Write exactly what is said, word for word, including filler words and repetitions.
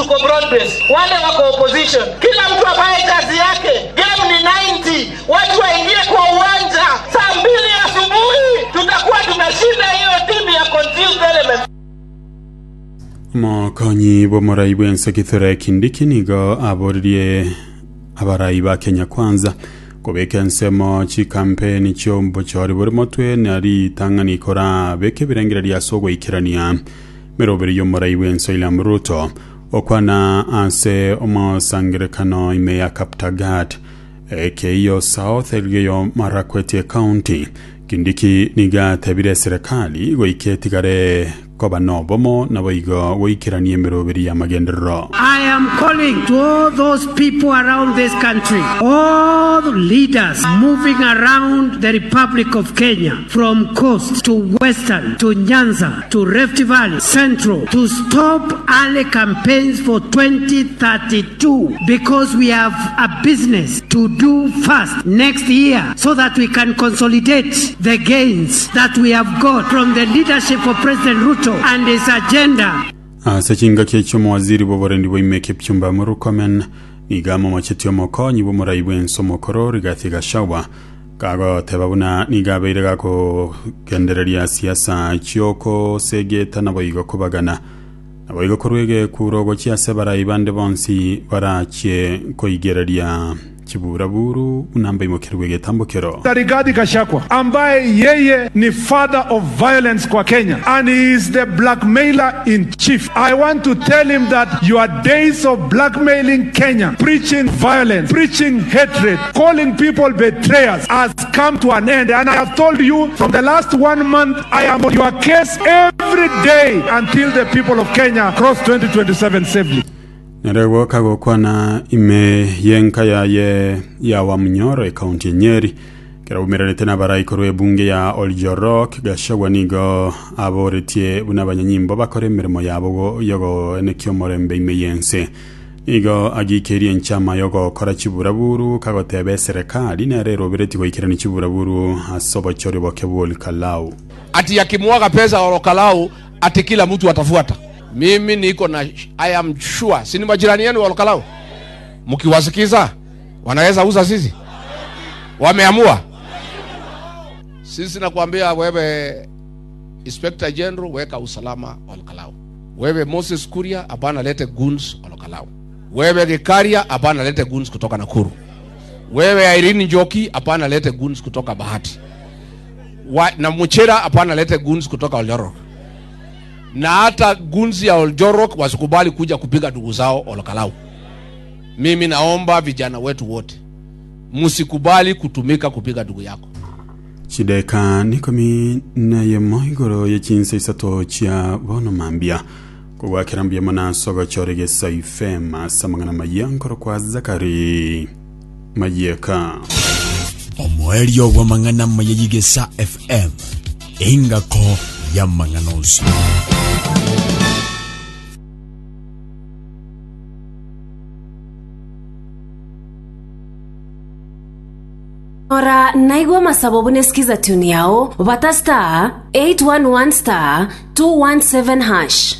Tuko broad based, wale wako opposition, kila mtu afanye kazi yake. Game ni ninety, watu waingie kwa uwanja saa mbili asubuhi, tutakuwa tumeshinda hiyo timu ya confused elements. Omokonyi bw'omorai bw'ense Kithure Kindiki nigo aboririe abarai ba Kenya Kwanza kobeka ensemo chikampeni chi'obochori bore motwe na ritang'ani korabeka ebirengererio ase ogoikerania meroberi y'omorai bw'ense William Ruto. Okwana ase omosangerekano ime ya Kaptagat, Ekeiyo South, Elgeyo Marakwet County, Kindiki nigo atebire eserekari goika etigare koba nobomo naboigo goikerania emeroberi y'amagenderero. I am calling to all those people around this country, all the leaders moving around the Republic of Kenya, from coast to western, to Nyanza, to Rift Valley, Central, to stop early campaigns for twenty thirty-two, because we have a business to do first next year so that we can consolidate the gains that we have got from the leadership of President Ruto and his agenda. Ase chingaki echio omowaziri bw'oborendi bwa Kipchumba Murkomen nigo amomochetie omokonyi bw'omorai bw'ense omokoro Rigathi Gachagua kagoteba buna nigo abeire gakogendereria siasa chiokosegeta naboigo kobagana naboigo korwa egekuro gochia ase barai bande bonsi barachie koigereria chiburaburu buna mbaimokerwe egetambokero. Rigathi Gachagua, ambaye yeye ni father of violence kwa Kenya and he is the blackmailer in chief. I want to tell him that your days of blackmailing Kenya, preaching violence, preaching hatred, calling people betrayers has come to an end. And I have told you, from the last one month, I am on your case every day until the people of Kenya cross twenty twenty-seven safely. Nere kagokwana ime yenka yaye ya Wamunyoro ekaunti ya Nyeri kera umeranete n'abarai korwa ebunge ya Oljorok, Gachagua nigo aboretie buna abanyanyimbo bakora emirimo yabo yogoenekia omorembe ime yense. Nigo agikerie enchama yogokora chiburaburu kagoteba eserekari nere erobereti goikerani chiburaburu ase obochori boke bwa Olkalau. Ati akimwaga pesa Olkalau, ati kila mtu atafuata. Mimi niko na, I am sure, si ni majirani yenu wa Olkalau? Mkiwasikiza wanaweza uza sisi, wameamua. Sisi nakwambia wewe Inspector General, weka usalama Olkalau. Wewe Moses Kuria, hapana lete goons Olkalau. Wewe Gikaria, hapana lete goons kutoka Nakuru. Wewe Irene Njoki, hapana lete goons kutoka Bahati. Wa, na Muchira, hapana lete goons kutoka Oljorok. Na hata goons ya Oljorok wasikubali kuja kupiga ndugu zao Olkalau. Mimi naomba vijana wetu wote msikubali kutumika kupiga ndugu yako. Chideka nikomi nayemo igoro yechinsa isato chia bono mambia kogwakera mbuya muna sogochore gesa ifem ase amang'ana maya nkoro kwa Zakari Mayeka. Omoerio bw'amang'ana maya y'Igesa F M, engako y'amang'ana onsi. Ora naigwa masabo bune skiza tune yao bata star eight one one star two one seven hash.